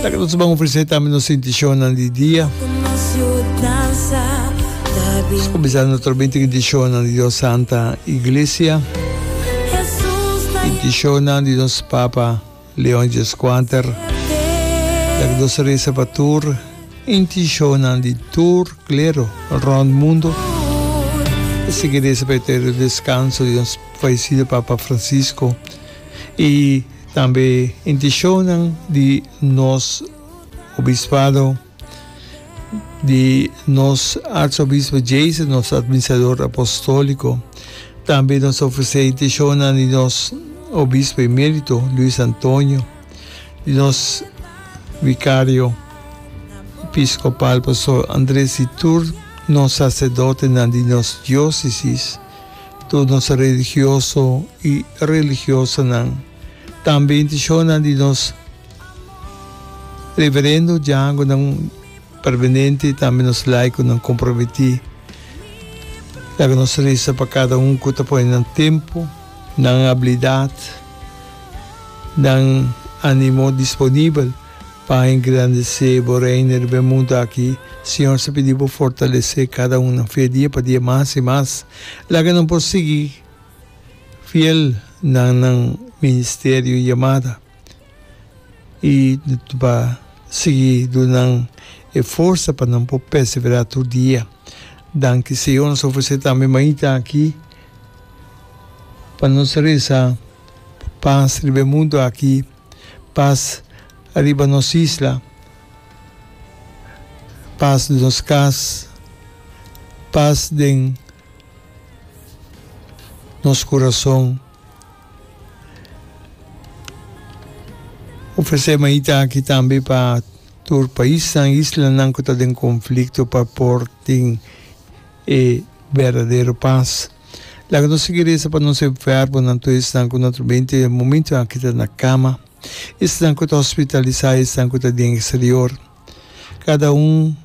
Laga nos ban ofresé tambe nos intishonnan di dia. Nos kuminsá naturalmente ku intishonnan di nos Santa Iglesia, intishonnan di nos Papa Leon Dieskuater. Laga nos resa pa tur intishonnan di tur klero rònt mundu. Ta sigui resa pa eterno deskanso di nos fayesido Papa Francisco i tambe intishonnan di nos obispado, di nos Arsobispo Jason, nos Administrador Apostóliko. Tambe nos ta ofresé intishonnan di nos Obispo Emérito Luis Antonio, di nos Vikario Episkopal Pastor Andres i tur nos saserdotenan di nos diósesis, tur nos religioso i religiosanan. Tambe intishonnan di nos Reverendo Djangonan permanente i tambe nos laikonan komprometí. Laga nos resa pa kada un ku ta pone nan tempu, nan abilidat, nan animo disponibel pa engrandesé bo Reino riba e mundu aki. Señor, nos ta pidi bo fortalesé kada un nan fe dia pa dia mas i mas. Laga nan por sigui fiel na nan ministerio i yamada. I pa sigui duna nan e forsa pa nan por perseverá tur dia. Danki Señor, nos ofresé tambe mainta aki pa nos resa pa pas riba e mundu aki, pas riba nos isla, pas den nos kas, pas den nos kurason. Ofresé maita aki tambe pa tur paisnan, islanan ku ta den konflikto pa por tin e berdadero pas. Laga nos sigui resa pa nos enfermonan, tur esnan ku naturalmente e momento aki ta na kama, esnan ku ta hospitalisá, esnan ku ta den eksterior. Kada un,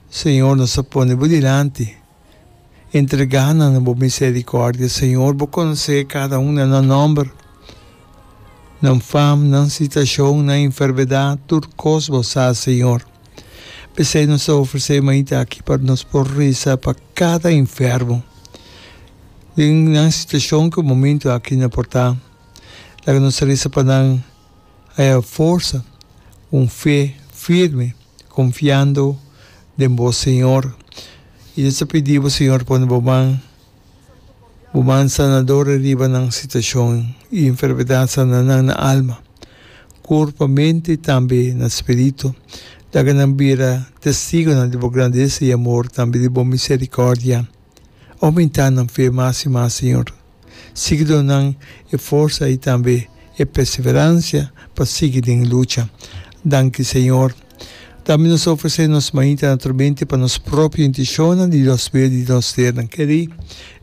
Señor, nos ta pone bo dilanti. Entregá nan na bo miserikòrdia, Señor. Bo konosé kada un na nan nòmber, nan fam, nan situashon, nan enfermedat, tur kos bo sa, Señor. P'esei nos ta ofresé mainta aki pa nos por resa pa kada enfermo den nan situashon ku e momentu aki nan por ta. Laga nos resa pa nan haya forsa, un fe firme, konfiando den bo, Señor. I nos ta pidi bo, Señor, pone bo man, bo man sanador riba nan situashon i enfermedat, sana nan na alma, kurpa, mente i tambe na spiritu. Laga nan bira testigonan di bo grandesa i amor, tambe di bo miserikòrdia. Oumentá nan fe mas i mas, Señor. Sigui duna nan e forsa i tambe e perseveransia pa sigui den lucha. Danki Señor. Tambe nos ta ofresé nos mainta naturalmente pa nos propio intishonnan di nos bida di nos sernan kerí.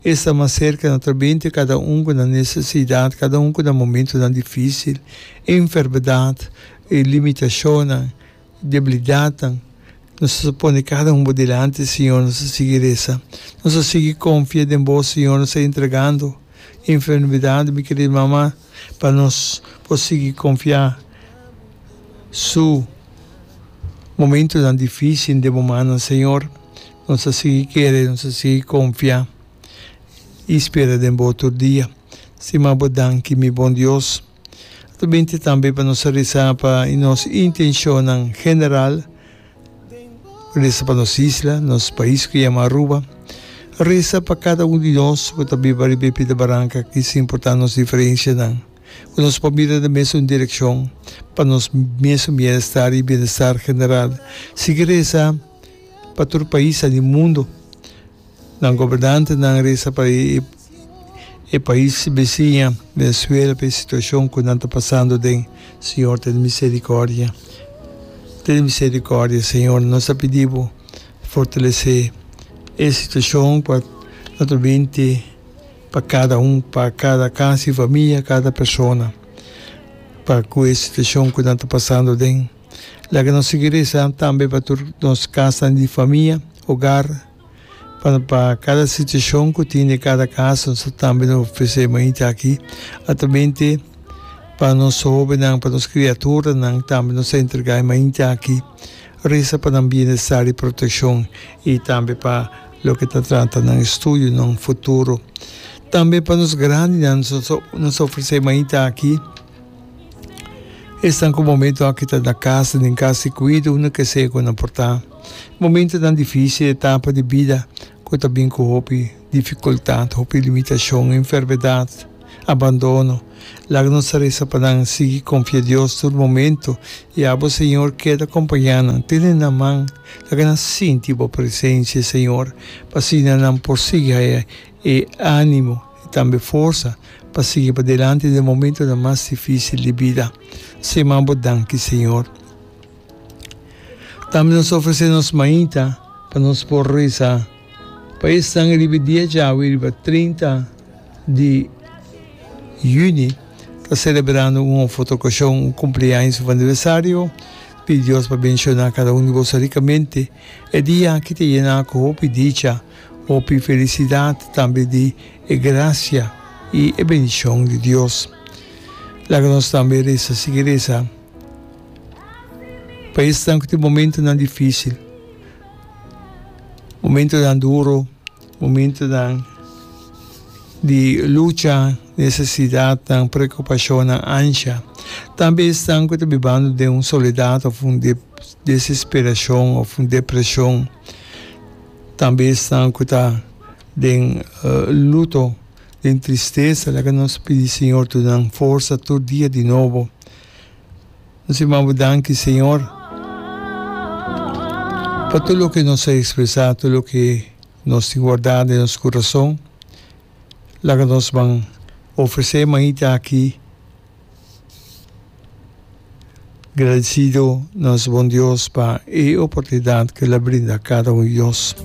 Esta mas serka naturalmente kada un ku nan nesesidat, kada un ku nan momentunan difísil, enfermedat, e limitashonnan. Debilidatnan. Nos ta pone kada un bo dilanti, Señor, nos ta sigui resa. Nos ta sigui konfia den bo, Señor, nos ta entregando enfermedad di mi kerida mama pa nos por sigui konfia su momentonan dificil den bo mannan, Señor. Nos ta sigui kere, nos ta sigui konfia i spera den bo tur dia. Stima bo danki, mi bon Dios. Ta binti tambe pa nos resa pa nos intencionnan general, resa pa nos isla, nos pais cu yama Aruba, resa pa cada un di nos cu ta biba riba e pida baranca aki sin importa nos diferencianan, cu nos por mira den mesun direccion pa nos mesun bienestar y bienestar general. Sigui resa pa tur paisnan di mundo. Nan gobernantenan resa pa e e pais bisiña Venezuela pa e situacion cu nan ta pasando den. Señor tene misericordia. Tene misericordia Señor. Nos ta pidi bo fortalece e situacion pa naturalmente pa cada un, pa cada cas y famia, cada persona pa cu e situacion cu nan ta pasando den. Laga nos sigui resa tambe pa tur nos casnan di famia, hogar. Pa pa kada situashon ku tin den kada kas nos ta tambe nos ofresé mainta aki altamente. Pa nos hóbennan, pa nos kriaturanan tambe nos ta entregá e mainta aki. Resa pa nan bienestar i protekshon i tambe pa loke ta trata nan estudio, nan futuro. Tambe pa nos grandinan nos ta ofresé e mainta aki. Esnan ku momento aki ta na kas, den kas di kuido, unda ke sea ku nan por ta. Momentonan difísil, etapa di bida ku ta bin ku hopi difikultat, hopi limitashon, enfermedat, abandono. Laga nos ta resa pa nan sigui konfia Dios tur momento i abo Señor keda kompañá nan, tene nan man, laga nan sinti bo presensia Señor, pa asina nan por sigui haya e ánimo i tambe forsa pa sigui padilanti den momentonan mas difísil di bida. Sema bo danki, Señor. Tambe nos ofresé nos mainta pa nos por resa pa esnan riba e dia djawe, riba 30 di yüni, ta selebrando un of otro okashon, un kumpleaños of aniversario. Pidi Dios pa benshoná kada un di boso rikamente. E dia aki ta yená ku hopi dicha. Hopi felisidat tambe di e grasia i e bendishon di Dios. Laga nos tambe resa, sigui resa pa esnan ku tin momentunan difísil, momentunan duro, momentunan di lucha, nesesidatnan, preokupashonnan, ansha. Tambe esnan ku ta bibando den un soledat òf un desesperashon òf un depreshon. Tambe esnan ku ta den luto, den tristesa, laga nos pidi Señor duna nan forsa tur dia di nobo. Nos yama bo danki, Señor, pa tur loke nos a ekspresá, tur loke nos tin wardá den nos kurason. Laga nos ban ofresé mainta aki. Gradecido nos bon Dios pa e oportunidad cu el a brinda cada un di nos.